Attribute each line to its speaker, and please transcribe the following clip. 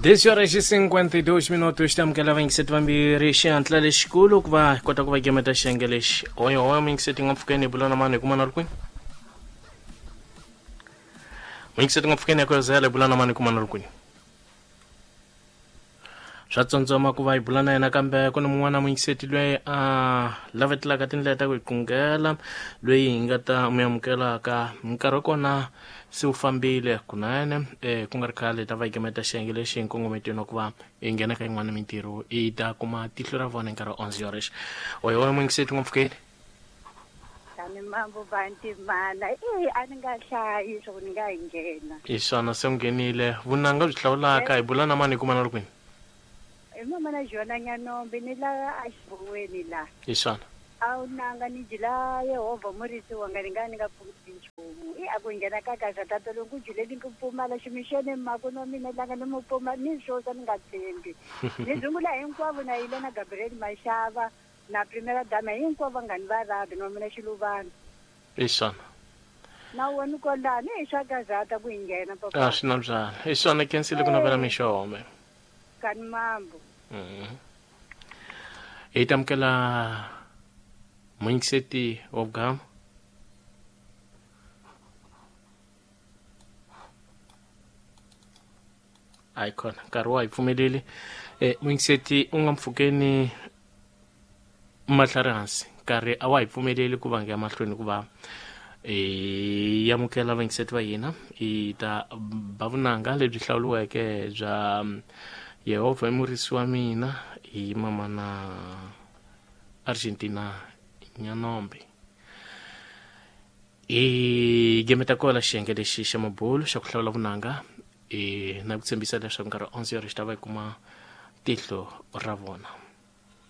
Speaker 1: 10 horas e 52 minutos tamukela vayingiseti vambirhi xihatla lexikulu ku va hi kota ku va gemeta xiyenge lexi hoyo hoyo muyingiseti nga mpfhukeni hi bula na mani hi kuma na ri kwini muyingiseti nga mpfhukeni ya ku hi bula na mani hi kuma na ri kwini swa tsondzoma ku va hi bula na yena kambe ku ni mun'wana muyingiseti loyi a lavetelaka tindlela ta ku hi qungela loyi hi nga ta mi amukelaka nkarhi wa kona se wu fambile kunene um ku nga ri khale hi ta va hi gemeta xiyenge lexi hi nkongometweni wa ku va hi nghena ka yin'wana mintirho hi ta kuma tihlo ra vona hi nkarhi wa 11 horas oyo wa muyingiseti n'wampfukeni
Speaker 2: Tani mambo vantimana e a ni nga hlayi swa ku ni nga hi nghena.
Speaker 1: Hi swona se u nghenile vunanga byi hlawulaka hi bula na mani hi kuma na ri kwini?
Speaker 2: Hi mama na Jona Nyanombe ni la a xiboweni la.
Speaker 1: Hi swona.
Speaker 2: A wu nanga ni jila Yehovha murisi wanga ni nga ni nga pfumali nchumu. I a ku nghena ka gaza tata lowu ku juleni ku pfumala ximixene mako no mina langa ni mu pfumala ni swosa ni nga tshembi. Ni dzungula hinkwavo na yile na Gabriel Mashava na primera dama hinkwavo vanghani va rabi na mina xiluvana.
Speaker 1: Hi swona.
Speaker 2: Na wena kolani hi swa gazata ku hi nghena papa.
Speaker 1: A swi na byala. Hi swona kensile ku navela mixo home.
Speaker 2: Kani mambo.
Speaker 1: Hi tamukela muyingiseti wa vugama. Hayi khona nkarhi wa hi pfumeleli muyingiseti u nga mpfhukeni mahlari hansi nkarhi a wa hi pfumeleli ku va nge mahlweni ku va hi amukela vayingiseti va hina hi ta ba vunanga lebyi hlawuriweke bya Yehovha i murisi wa mina hi mama na Argentina Nyanombe. Hi gemeta kola xiyenge lexi xa mabulu xa ku hlawula vunanga na ku tshembisa leswaku nkarhi 11 horas xi ta va hi kuma tihlo ra vona.